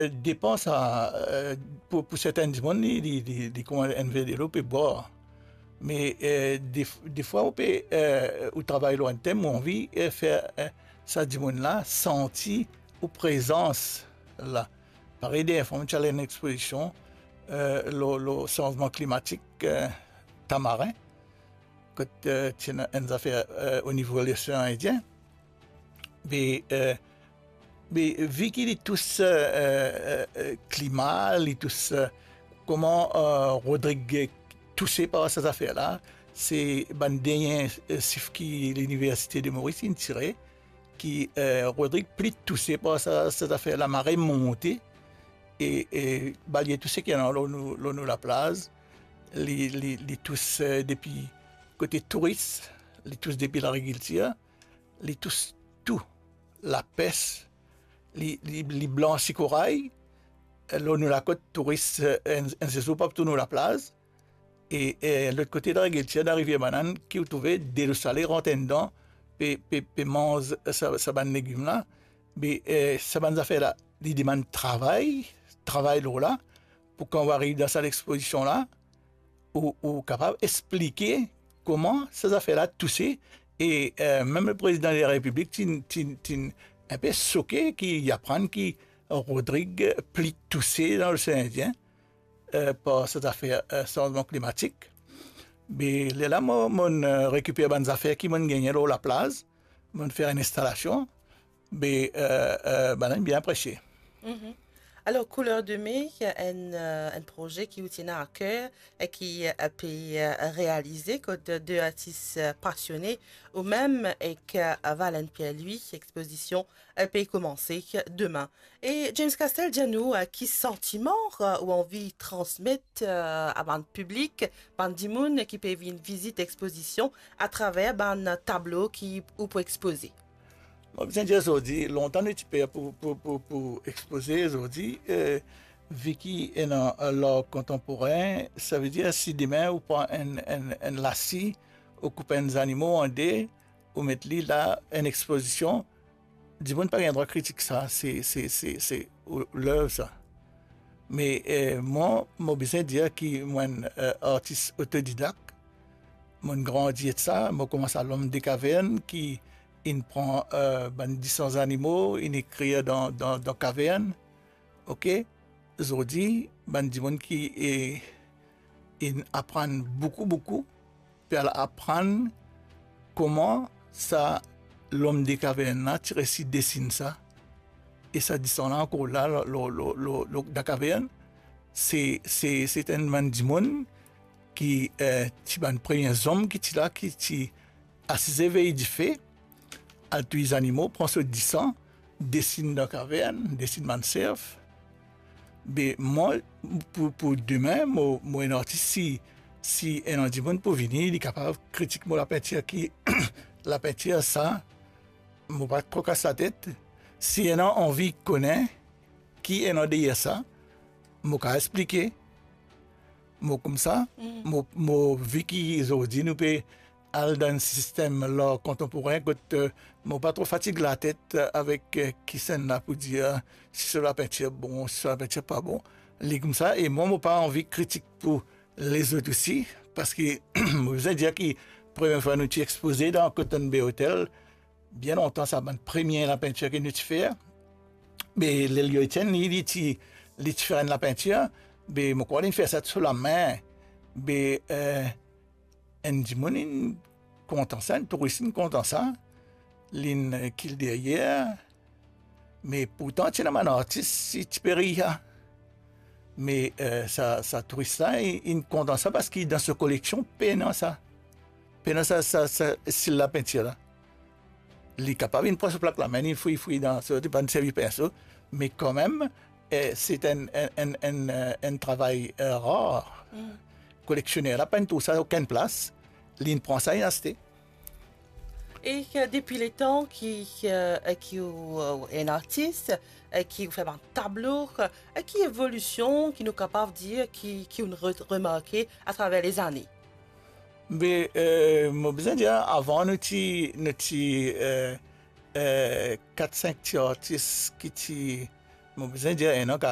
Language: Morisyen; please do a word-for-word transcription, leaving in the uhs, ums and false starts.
Eh, depan sa, eh, pou, pou sertin dimoun, li, li, li, li kouma enn ver delo pe bwar. Me, eh, def-, defwa ou pe, eh, ou travay lor enn tem, ou anvi, eh, fer, eh, sa dimoun la santi ou prezans la. Parey dernie fwa mo ti al enn expozision, eh, lor, lor sanzman klimatik, eh, Tamarin, kot, eh, ti ena enn zafer, eh, o nivo Losean Indien. Me, eh, me vi ki li tous, eh, eh, eh, klima, li tous, eh, kouma, eh, Rodrig touse par sa zafer la, se bann dernie, eh, sif ki Liniversite de Moris inn tire, ki, eh, Rodrig pli touse par sa, sa zafer lamare monte, e, e balie tou seki ena lor nou, lor nou laplaz, li, li, li tous, eh, depi kote touris, li tous depi lagrikiltir, li tous tou, lapes, li, li, li blansi koray, eh, lor nou lakot touris, eh, enn, enn sezour pa pou trouv nou laplaz, e, e lot kote lagrikiltir dan Rivier Banane, ki ou trouve delo sale rant andan, pe, pe, pe manz sa, sa bann legim la. Me, eh, sa bann zafer la, li demann travay, travay lor la, pou kan ou ariv dan sa lexpozision la, ou, ou kapav explike kouma sa zafer la touse, e, eh, mem le prezidan de la Repiblik ti, ti, ti enpe soke ki li aprann ki Rodrig pli touse dan Losean Indien, eh, par sa zafer, eh, sanzman klimatik. Me lerla mo, mo'nn, eh, rekiper bann zafer ki mo'nn gagne lor laplaz, mo'nn fer enn instalasion, me, eh, eh, bann-la bien apresie. Mhm. Alor, Couleur de Mai, enn, eh, enn proze ki ou ti ena a ker e ki, eh, pe, eh, realize kot de artis, eh, pasione, ou mem ek, eh, Valène Pierre-Louis, expozision, eh, pe koumanse demin. E James Castel, dir nou, eh, ki santiman, eh, ou anvi transmet, eh, a bann piblik, bann dimoun ki pe vinn vizit expozision atraver bann tablo ki ou pou expoze? Mo bizin dir zordi, lontan nou ti per pou, pou, pou, pou expoze, zordi, eh, vi ki ena, eh, lar kontanporin, savedir si demin ou pran enn, enn, enn lasi, ou koup enn zanimo an de, ou met li la, enn expozision, dimoun pa gagn drwa kritik sa, se, se, se, se, ou, lev sa. Me, eh, mwa, mo bizin dir ki mo enn, eh, artis otodidak, mo'nn grandi ek sa, mo koumans a L'Homme des Cavernes, ki inn pran, eh, bann disan zanimo, inn ekrir dan, dan, dan kavern. Ok? Zordi, bann dimoun ki, eh, inn aprann boukou, boukou, pe al aprann kouma sa L'Homme des Cavernes la ti resi desinn sa. E sa disan la ankor la, lor, lor, lor, lor, lor, dan kavern. Se, se, se enn bann dimoun ki, eh, ti bann premie zom ki ti la, ki ti asize vey dife, al touy zanimo, pran so disan, desinn dan kavern, desinn bann serf. Be mwa, pou, pou demin, mo, mo enn artis, si, si ena dimoun pou vini, li kapav kritik mo lapintir ki, lapintir sa, mo pa tro kas latet. Si ena anvi kone ki ena deryer sa, mo kav explike. Mo koumsa, mm, mo, mo vi ki zordi nou pe al dan enn sistem lar kontanporin kot, eh, mo pa tro fatig latet, eh, avek, eh, kisannla pou dir, eh, si so lapintir bon, si so lapintir pa bon. Li koumsa, e mwa, mo pa anvi kritik pou lezot osi, parski mo bizin dir ki premie fwa nou ti expoze dan Cotton Bay Hotel, bien lontan sa, bann premie lapintir ki nou ti fer, be Lelio Etienne, li, li ti, li ti fer enn lapintir, be mo krwar linn fer sa so lame, be, eh, enn dimoun inn kontan sa, enn touris inn kontan sa, linn, eh, kil deryer, me pourtan ti ena bann artis, ti pe rir. Me, eh, sa, sa touris la, li, linn kontan sa parski dan so koleksion pena sa. Pena sa, sa, sa stil lapintir la. Li kapav inn pran so plak lame, li fouy, fouy dan so, li pa'nn servi pinso, me kanmem, eh, se enn, enn, enn, enn, eh, enn travay, eh, rar. Mm. Koleksioner la pa'nn trouv sa okenn plas, linn pran sa, linn aste. E, eh, depi letan ki, eh, ki ou, eh, enn artis, eh, ki ou fer bann tablo, eh, ki evolision ki nou kapav dir ki, ki ou'nn re-, remarke atraver lezane? Be, eh, mo bizin dir, avan nou ti, nou ti, eh, eh, kat, sink ti artis ki ti, Mo bizin dir enn an, kar